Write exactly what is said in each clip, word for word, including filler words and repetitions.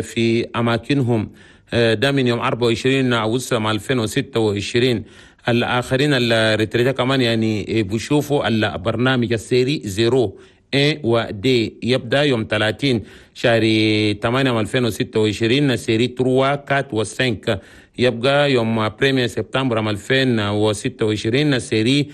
في أماكنهم. ده من يوم أربعة وعشرين أغسطس ألفين وستة وعشرين. الآخرين ال retraités كمان يعني بيشوفوا البرنامج ال série zéro A و D يبدأ يوم ثلاثين شهر ثمانية ألفين وستة وعشرين. série trois quatre و cinq يبقى يوم premier سبتمبر ألفين وستة وعشرين. série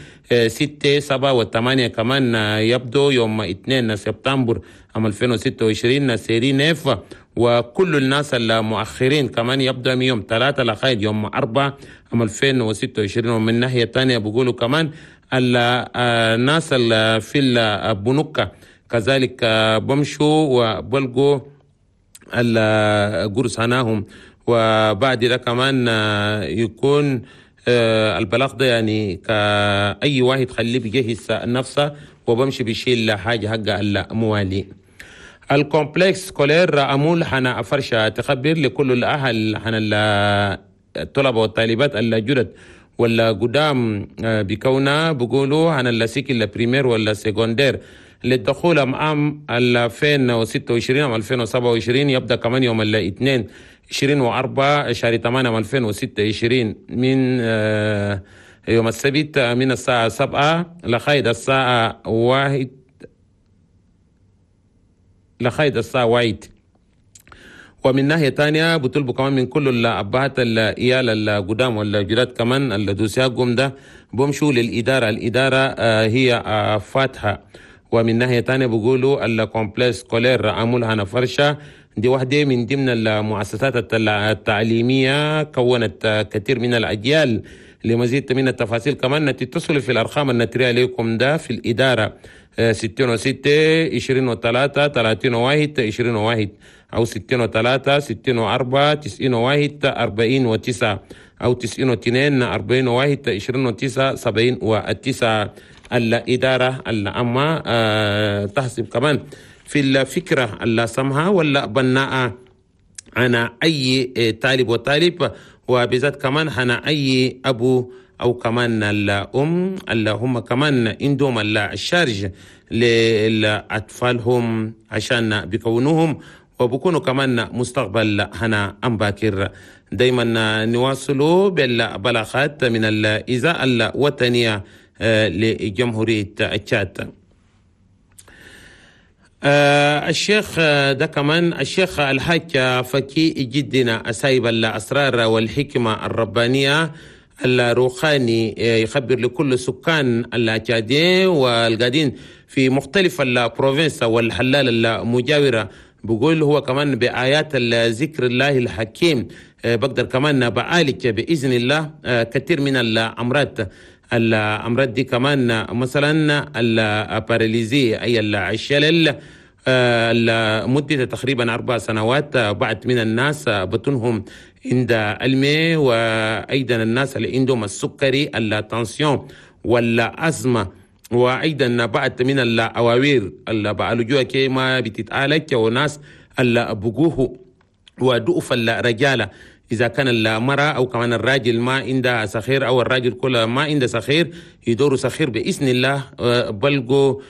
ستة سبعة وثمانية كمان يبدو يوم اثنين سبتمبر ألفين وستة وعشرين. série neuf وكل الناس المؤخرين كمان يبدأ من يوم ثلاثة لغاية يوم أربعة ألفين وستة وعشرين. ومن ناحية تانية بيقولوا كمان الناس اللي في البنوك كذلك بمشوا وبلقوا القرص هناهم. وبعد ده كمان يكون البلاغ ده يعني كأي واحد خليه بيجهز نفسه وبمشي بيشيل حاجة حق الموالي. ال complexe scolaire أمول حنا فرشة تخبر لكل الأهل حنا الطلبة والطالبات الجدد ولا قدام بكونا بيقولوا عن ال cycle primaire ولا secondaire للدخول عام ألفين وستة وعشرين أو ألفين وسبعة وعشرين يبدأ كمان يوم الاثنين عشرين وأربعة شهر ثمانية ألفين وستة وعشرين من يوم السبت من الساعة سبعة لغاية الساعة واحد لغاية الساعة واحد. ومن ناحية تانية بطلبوا كمان من كل الأبهات العيال القدام والجداد كمان ال dossier ده بمشوا للإدارة، الإدارة هي فاتحة. ومن ناحية تانية بيقولوا ال complexe scolaire أمول هنا فرشة دي واحدة من ضمن المؤسسات التعليمية كونت كثير من الأجيال. لمزيد من التفاصيل كمان تتصلوا في الأرقام النترية عليكم ده في الإدارة ستين وستة عشرين وثلاثة ثلاثين وواحد عشرين وواحد أو ستين وثلاثة ستين وأربعة تسعين وواحد أربعين وتسعة أو تسعين واثنين أربعين وواحد عشرين وتسعة سبعين وتسعة. الإدارة العامة تحسب كمان في الفكرة اللي سمها ولا بناء أنا أي طالب وطالب، وبالذات كمان أنا أي أبو أو كمان الأم اللي هم كمان عندهم ال charge لأطفالهم عشان بيكونوهم وبكونوا كمان مستقبل هنا أم باكر. دايما نواصلوا بالبلاغات من الإذاعة الوطنية لجمهورية تشاد. الشيخ ده كمان الشيخ الحاج فكي جدنا سايب الأسرار والحكمة الربانية الروخاني يخبر لكل سكان التشادين والقادين في مختلف ال provinces والحلال المجاورة. بقول هو كمان بآيات الذكر الله الحكيم بقدر كمان بعالج بإذن الله كثير من الأمراض. الأمراض دي كمان مثلا ال paralysie أي الشلل لمدة تقريبا أربع سنوات بعد من الناس بطنهم عند المي، وأيضا الناس اللي عندهم السكري ال tension والأزمة، وأيضا بعد من الأواوير اللي بعالجوها كي ما بتتعالج، وناس اللي بقوه وضعف الرجالة إذا كان المرأة أو كمان الراجل ما عنده سخير أو الراجل كله ما عنده سخير يدوروا سخير بإذن الله بلقوا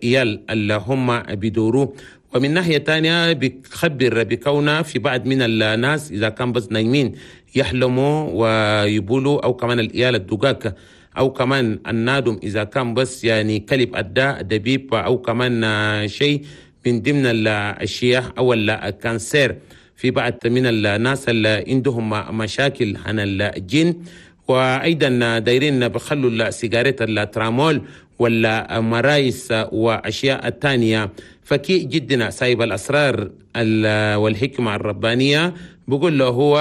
إيال اللي هم بيدوروه. ومن ناحية تانية بيخبر بكونه في بعض من الناس إذا كان بس نايمين يحلموا ويبولوا، أو كمان الإيال الدقاق، أو كمان النادم إذا كان بس يعني كلب أداء دبيب، أو كمان شيء من ضمن الأشياء أو ال cancer. في بعض من الناس اللي عندهم مشاكل عن الجن، وأيضا دايرين بخلوا السيجارات الترامول ولا مرايس وأشياء التانية. فكي جدنا سايب الأسرار والحكمة الربانية بقول له هو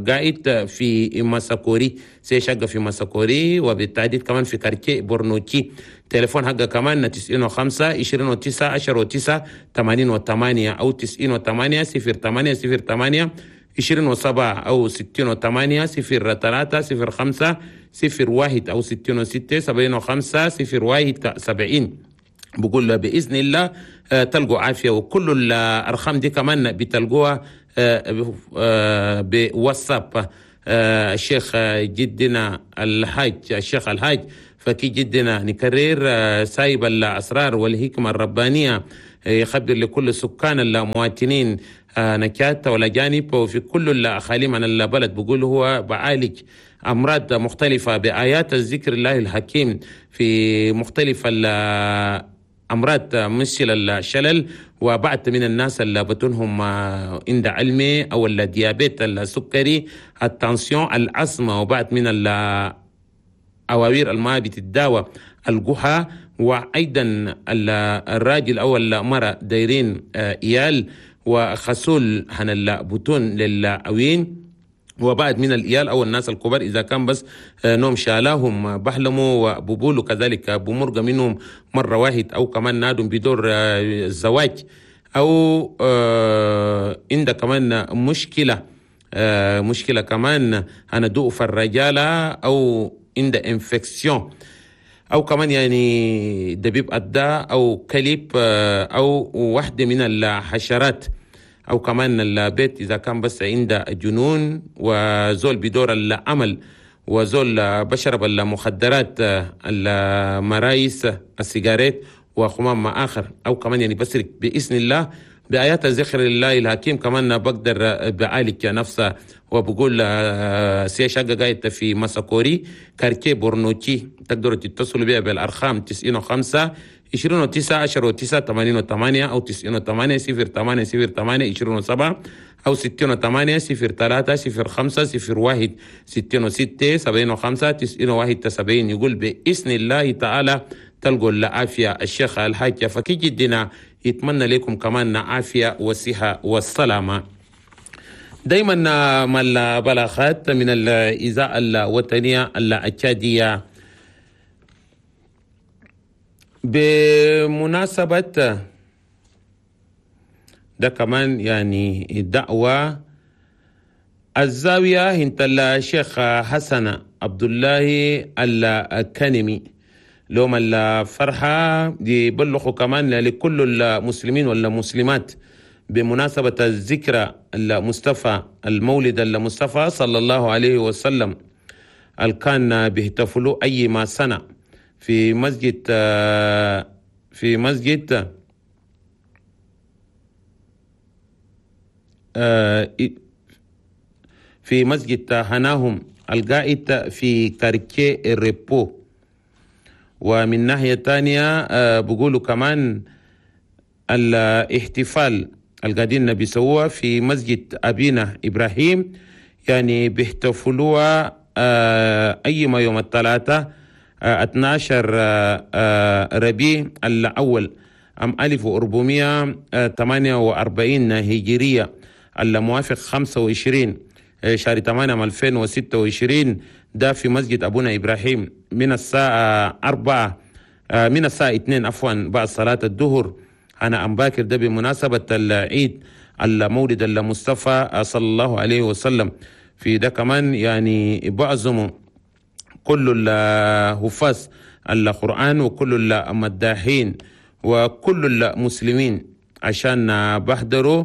قاعد في مساكوري، سيشق في مساكوري، وبالتحديد كمان في quartier بورنوتشي. تليفون حقه كمان تسعين وخمسة عشرين وتسعة عشرة وتسعة ثمانين وثمانية أو تسعين وثمانية صفر ثمانية صفر ثمانية عشرين وسبعة أو ستين وثمانية صفر ثلاثة صفر خمسة صفر واحد أو ستين وستة سبعين وخمسة صفر واحد سبعين. بقول له بإذن الله تلقوا عافية، وكل الأرقام دي كمان بتلقوها بواتساب. الشيخ جدنا الحاج الشيخ الحاج فكي جدنا نكرر سايب الأسرار والحكمة الربانية يخبر لكل سكان المواطنين نكات والأجانب وفي كل الأقاليم عن البلد، بقول هو بعالج أمراض مختلفة بآيات الذكر الله الحكيم في مختلف الأمراض مثل الشلل، وبعض من الناس اللي بتنهم عند علمي أو ال diabète السكري ال tension الأزمة، وبعض من الأواوير الماء بتداوى الجحا، وأيضا الراجل أو المرأة دايرين إيال وخسول هن البطون للأوين، وبعد من الإيال أو الناس الكبار إذا كان بس نوم شالاهم بحلموا وببولوا كذلك بمرقة منهم مرة واحد، أو كمان نادم بدور الزواج، أو عند كمان مشكلة مشكلة كمان أنا ضعف الرجالة أو عند infection، أو كمان يعني دبيب أدى أو كلب أو واحدة من الحشرات، أو كمان البيت إذا كان بس عنده جنون وزول بدور العمل وزول بشرب المخدرات المرايس السيجاريت وخمام ما آخر، أو كمان يعني بسرق بإذن الله بآيات ذكر الله الحكيم كمان بقدر بعالج نفسه. وبقول سي شقة قاعدة في مساكوري quartier بورنوتي، تقدروا تتصلوا بها بالأرقام تسعين وخمسة عشرين وتسعة عشرة وتسعة ثمانين وثمانية أو تسعين وثمانية صفر ثمانية صفر ثمانية عشرين وسبعة أو ستين وثمانية صفر ثلاثة صفر خمسة صفر واحد ستين وستة سبعين وخمسة تسعين وواحد سبعين. يقول بإذن الله تعالى تلقوا العافية. الشيخ الحاج فكي جدنا يتمنى لكم كمان عافية والصحة والسلامة. دايما ما البلاغات من الإذاعة الوطنية الأكادية بمناسبة ده كمان يعني دعوة الزاوية انت الشيخ حسن عبد الله الكنمي لهم الفرحة يبلغوا كمان لكل المسلمين والمسلمات بمناسبة الذكرى المصطفى المولد المصطفى صلى الله عليه وسلم اللي كان بيحتفلوا أي ما سنة في مسجد في مسجد في مسجد هناهم القائد في كاركي ريبو. ومن ناحية تانية بقولوا كمان الاحتفال القادين بيسووها في مسجد أبينا إبراهيم، يعني بيحتفلوها أي ما يوم الثلاثاء اثنا عشر ربيع الأول عام ألف وأربعمائة وثمانية وأربعين هجرية الموافق خمسة وعشرين شهر ثمانية ألفين وستة وعشرين، ده في مسجد أبونا إبراهيم من الساعة أربعة من الساعة اثنين عفوا بعد صلاة الظهر. أنا أم باكر ده بمناسبة العيد المولد المصطفى صلى الله عليه وسلم. في ده كمان يعني بعزموا كل الحفاظ القرآن وكل المداحين وكل المسلمين عشان بحضروا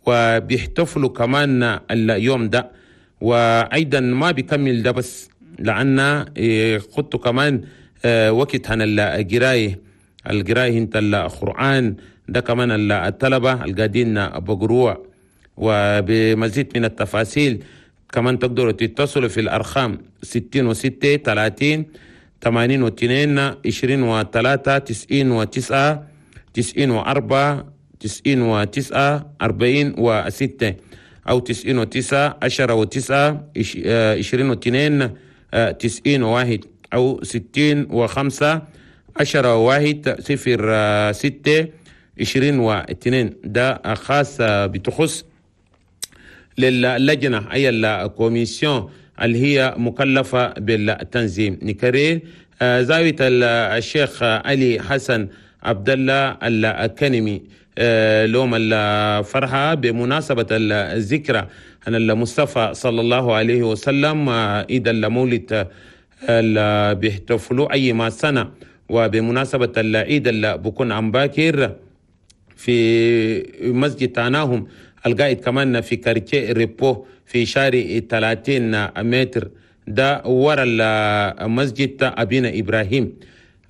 وبيحتفلوا كمان اليوم ده. وأيضا ما بيكمل ده بس لأن خدتوا كمان وقت عن القراية القراية انت القرآن ده كمان الطلبة القاعدين بقروع. وبمزيد من التفاصيل كمان تقدروا تتصلوا في الأرقام ستين وستة ثلاثين ثمانين واثنين عشرين وثلاثة تسعين وتسعة تسعين وأربعة تسعين وتسعة أربعين وستة أو تسعين وتسعة عشرة وتسعة عشرين واثنين تسعين وواحد أو ستين وخمسة عشرة واحد صفر ستة عشرين واثنين. ده خاص بتخص للجنة أي ال commission اللي هي مكلفة بالتنظيم. نكرر زاوية الشيخ علي حسن عبد الله الكنمي لوم الفرحة بمناسبة الذكرى أن المصطفى صلى الله عليه وسلم عيد المولد اللي بيحتفلوا أي ما سنة، وبمناسبة العيد اللي بكون عم باكر في مسجد تاناهم القائد كمان في quartier ريبو في شارع ثلاثين متر ده ورا المسجد أبينا إبراهيم.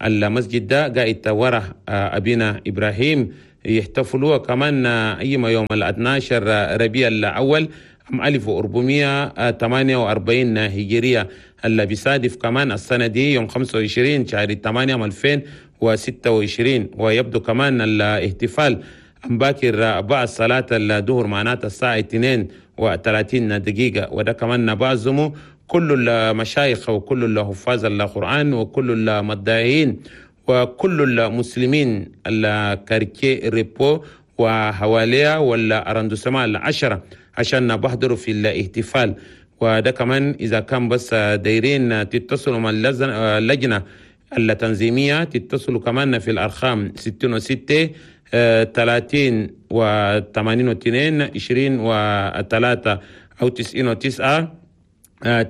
المسجد ده قاعد ورا أبينا إبراهيم يحتفلوا كمان أيما يوم الاثناشر ربيع الأول عام ألف وأربعمية وثمانية وأربعين هجرية، اللي بيصادف كمان السنة دي يوم خمسة وعشرين شهر ثمانية عام ألفين وستة وعشرين. ويبدو كمان الاحتفال باكر بعد صلاة الظهر معناتها الساعة اثنين وثلاثين دقيقة، وده كمان بعزمه كل المشايخ وكل الحفاظ القرآن وكل المداحين وكل المسلمين ال quartier Repos وحواليها وال arrondissements العشرة عشان بحضروا في الاحتفال. وده كمان إذا كان بس دايرين تتصلوا مع اللجنة التنظيمية تتصلوا كمان في الأرقام ستين وستة ثلاثين وثمانين واثنين عشرين وثلاثة أو تسعين وتسعة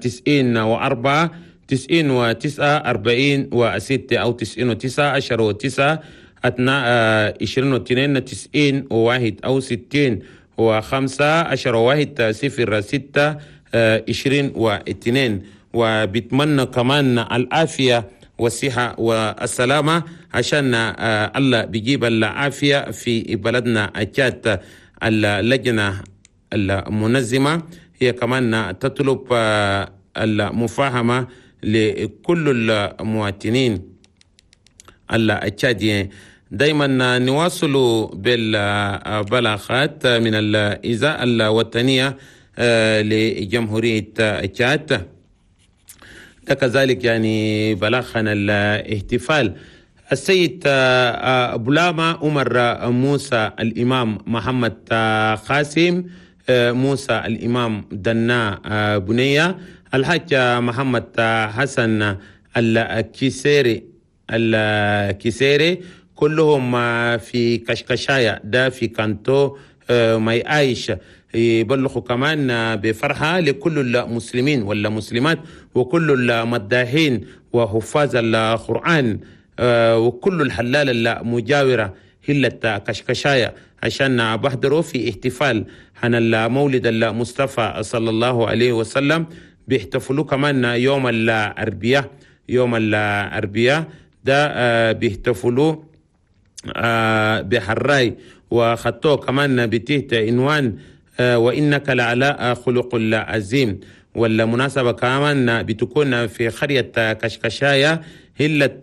تسعين وأربعة تسعين وتسعة أربعين وستة أو تسعين وتسعة عشر وتسعة عشرين واثنين تسعين وواحد أو ستين وخمسة عشر وواحد صفر ستة عشرين واثنين. وبتمنى كمان العافية والصحة والسلامة عشان الله بيجيب العافية في بلدنا التشاد. اللجنة المنظمة هي كمان تطلب المفاهمة لكل المواطنين التشاديين. دايما نواصل بالبلاغات من الإذاعة الوطنية لجمهورية تشاد. ده كذلك يعني بلاغنا الاحتفال السيد بولاما عمر موسى الإمام محمد قاسم موسى الإمام دنا بنية الحاج محمد حسن الكيسيري الكيسيري كلهم في كشكشايا ده في كانتو ماي عايش. يبلغوا كمان بفرحة لكل المسلمين والمسلمات وكل المداحين وحفاظ القرآن وكل الحلال المجاورة هلة كشكشايا عشان بحضروا في احتفال عن المولد المصطفى صلى الله عليه وسلم. بيحتفلوا كمان يوم الأربعاء، يوم الأربعاء ده بيحتفلوا بحراي وخطوه كمان بتحت عنوان وإنك لعلى خلق العظيم. والمناسبة كمان بتكون في قرية كشكشايا هلة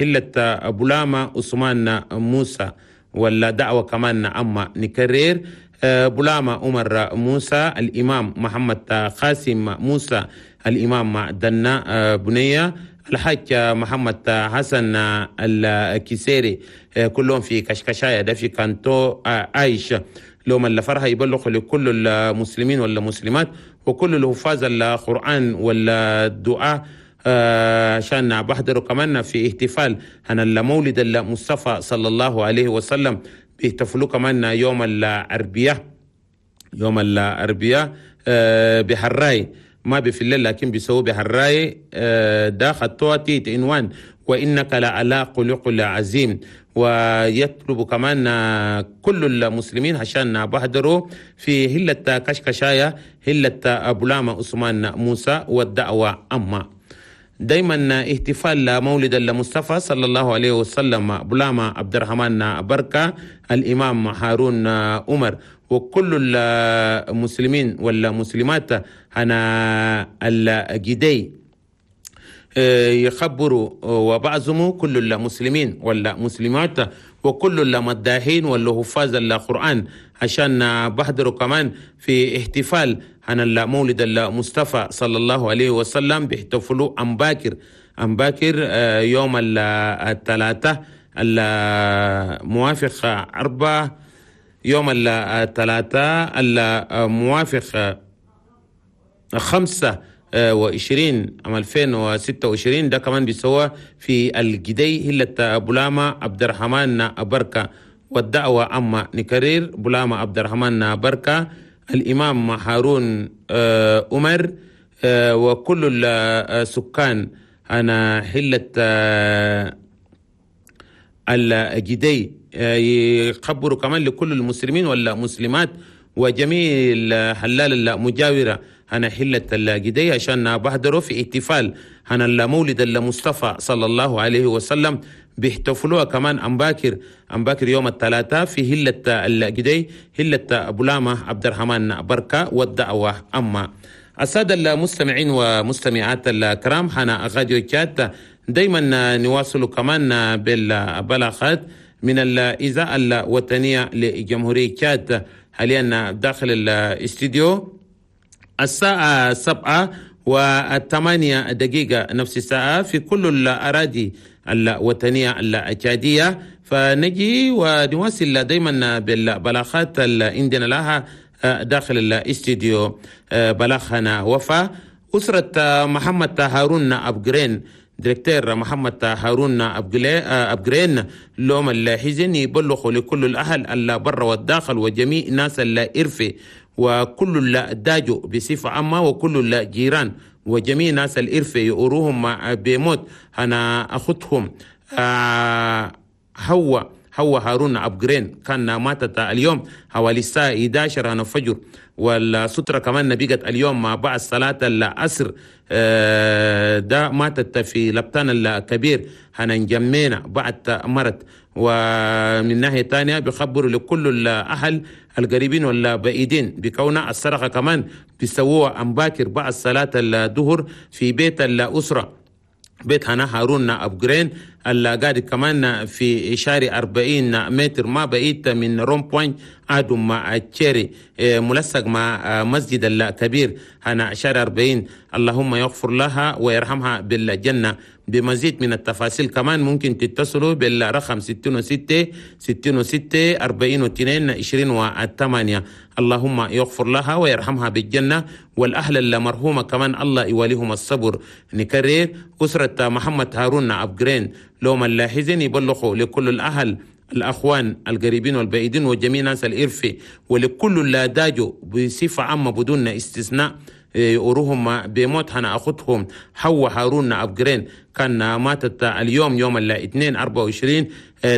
هلة بولاما عثمان موسى. والدعوة كمان أما نكرر بولاما عمر موسى الإمام محمد قاسم موسى الإمام دنا بنية الحاج محمد حسن الكيسيري كلهم في كشكشايا ده في كانتو عايش. لهم الفرحة يبلغ لكل المسلمين والمسلمات وكل الحفاظ القرآن والدعاء عشان بحضروا كمان في احتفال عن المولد المصطفى صلى الله عليه وسلم. بيحتفلوا كمان يوم الأربعاء، يوم الأربعاء بحراي ما بفي الليل لكن بيسووا بحراي ده خطوة تيت عنوان وإنك لعلى خلق عظيم. ويطلب كمان كل المسلمين عشان بحضروا في هلة كشكشايا هلة بولاما عثمان موسى والدعوة أما. دايما احتفال مولد المصطفى صلى الله عليه وسلم بولاما عبد الرحمن بركة الإمام هارون عمر وكل المسلمين والمسلمات أنا الجدي يخبروا وبعزموا كل المسلمين والمسلمات وكل المداحين والحفاظ القرآن عشان بحضروا كمان في احتفال عن المولد المصطفى صلى الله عليه وسلم. بيحتفلوا أم باكر أم باكر يوم الثلاثاء الموافق أربعة يوم الثلاثاء الموافق خمسة وعشرين عام ألفين وستة وعشرين. ده كمان بيسوى في الجدي هلة بولاما عبد الرحمن بركة. والدعوة أما نكرر بولاما عبد الرحمن بركة الإمام هارون عمر وكل السكان أنا حلة الجدي يخبروا كمان لكل المسلمين والمسلمات وجميع الحلال المجاورة أنا حلة الجدي عشان بحضروا في احتفال عن المولد المصطفى صلى الله عليه وسلم. بيحتفلوها كمان أمباكر أمباكر يوم الثلاثاء في هلة الجدي هلة أبو عبد الرحمن بركة والدعوة أما. السادة المستمعين ومستمعات الكرام، حنا غاديو تشاد دايما نواصل كمان بالبلاغات من الإذاعة الوطنية لجمهورية تشاد. حاليا داخل الاستديو الساعة سبعة وثمانية دقيقة نفس الساعة في كل الأراضي الوطنية التشادية. فنجي ونواصل دايما بالبلاغات اللي عندنا لها داخل الاستديو. بلاغنا وفا أسرة محمد هارون أبجرين، directeur محمد هارون أبجرين، لوم الحزن يبلغ لكل الأهل البر والداخل وجميع ناس الإرفي وكل الداجو بصفة عامة وكل الجيران وجميع ناس الإرفي يؤروهم بموت أنا أخذهم هو هو هارون أبجرين كان ماتت اليوم حوالي الساعة إحدى عشرة الفجر، والسترة كمان نبيقت اليوم مع بعد صلاة العصر. ده ماتت في لبتان الكبير هننجمينا بعد مرت. ومن ناحية تانية بيخبروا لكل الأهل القريبين والبعيدين بكون السرقة كمان بيسووها أمباكر بعد صلاة الظهر في بيت الأسرة بيت هنا هارون أبجرين اللي قاعد كمان في شارع أربعين متر ما بعيد من rond-point آدم مع تشيري ملصق مع مسجد الكبير هنا شارع أربعين. اللهم يغفر لها ويرحمها بالجنة. بمزيد من التفاصيل كمان ممكن تتصلوا بالرقم ستة وستة ستة وستة أربعين واثنين عشرين وثمانية. اللهم يغفر لها ويرحمها بالجنة، والأهل المرحومة كمان الله يواليهم الصبر. نكرر أسرة محمد هارون أبجرين لوم اللاحزين يبلغوا لكل الأهل الأخوان القريبين والبعيدين وجميع ناس الإرفي ولكل اللي داجوا بصفة عامة بدون استثناء يقروهم بموت هنا أخذهم حوا هارون أبجرين كان ماتت اليوم يوم الاثنين أربعة وعشرين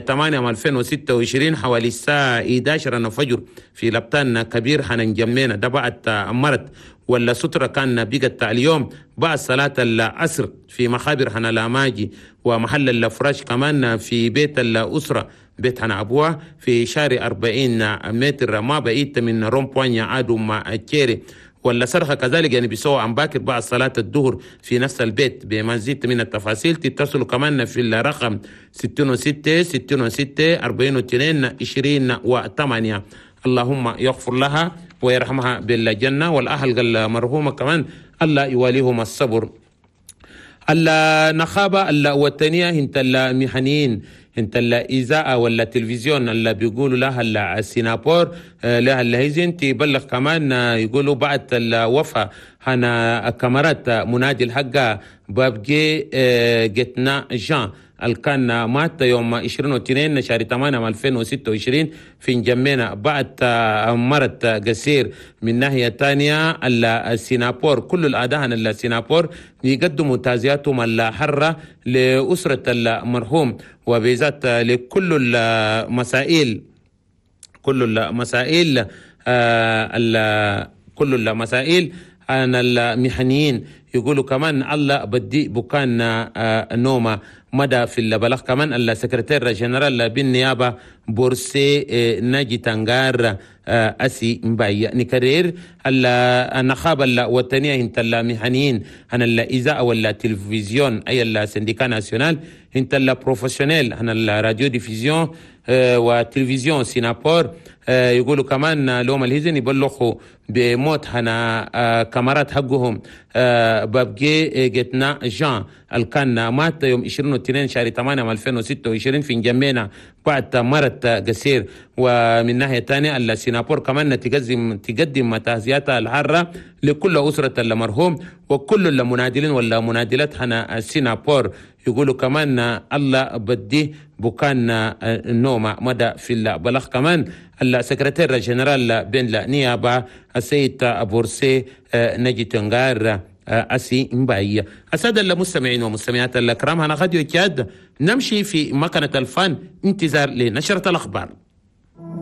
ثمانية ألفين وستة وعشرين حوالي الساعة إحدى عشرة الفجر في لبتان كبير هننجمينا. ده بعد مرت ولا سترة كان بقت اليوم بعد صلاة العصر في مخابر هنا لاماجي ومحل الفراش كمان في بيت الأسرة بيت هنا أبوها في شارع أربعين متر ما بعيد من rond-point عادوا مع تشيري. ولا صرخة كذلك يعني بيسووا عن باكر بعد صلاة الظهر في نفس البيت. بمزيد من التفاصيل تتصلوا كمان في الرقم ستة وستة ستة وستة أربعين واثنين عشرين وثمانية. اللهم يغفر لها ويرحمها بالجنة، والأهل المرحومة كمان الله يواليهم الصبر. النخابة الوطنية انت المهنيين انت الإذاعة ولا التلفزيون اللي بيقولوا لها السينابور لها الهيزن تبلغ كمان يقولوا بعد الوفاة هنا كاميرات منادي الحقة بابجي جتنا جان اللي كان مات يوم عشرين واثنين شهر ثمانية ألفين وستة وعشرين في نجمينا بعد مرض قصير. من ناحية ثانية السينابور كل الأداء السينابور يقدموا تعزياتهم الحرة لأسرة المرحوم وبالذات لكل المسائل كل المسائل كل المسائل عن المهنيين. يقولوا كمان الله بدي بكان نومة مدى في البلاغ كمان ال secrétaire général بالنيابة بورسي ناجي تنغار أسي مباي. نكرر النخابة الوطنية انت المهنيين عن الإذاعة ولا التلفزيون أي ال syndicat national انت ال professionnels عن ال radiodiffusion وتلفزيون سينابور. يقولوا كمان لوم الهزن يبلغوا بموت هنا كاميرات حقهم بابجي جتنا جان اللي كان مات يوم عشرين واثنين شهر ثمانية ألفين وستة وعشرين في نجمينا بعد مرض قصير. ومن ناحية ثانية السينابور كمان تقدم تقدم تعزياتها الحارة لكل أسرة المرحوم وكل المنادلين والمنادلات هنا السينابور. يقولوا كمان الله بدي بكان نومة مدى في البلاغ كمان ال secrétaire général بين النيابة السيد بورسي نجي تنغار أسي مباي. السادة المستمعين ومستمعات الكرام، هنا غاديو تشاد نمشي في مكنة الفن انتظار لنشرة الأخبار.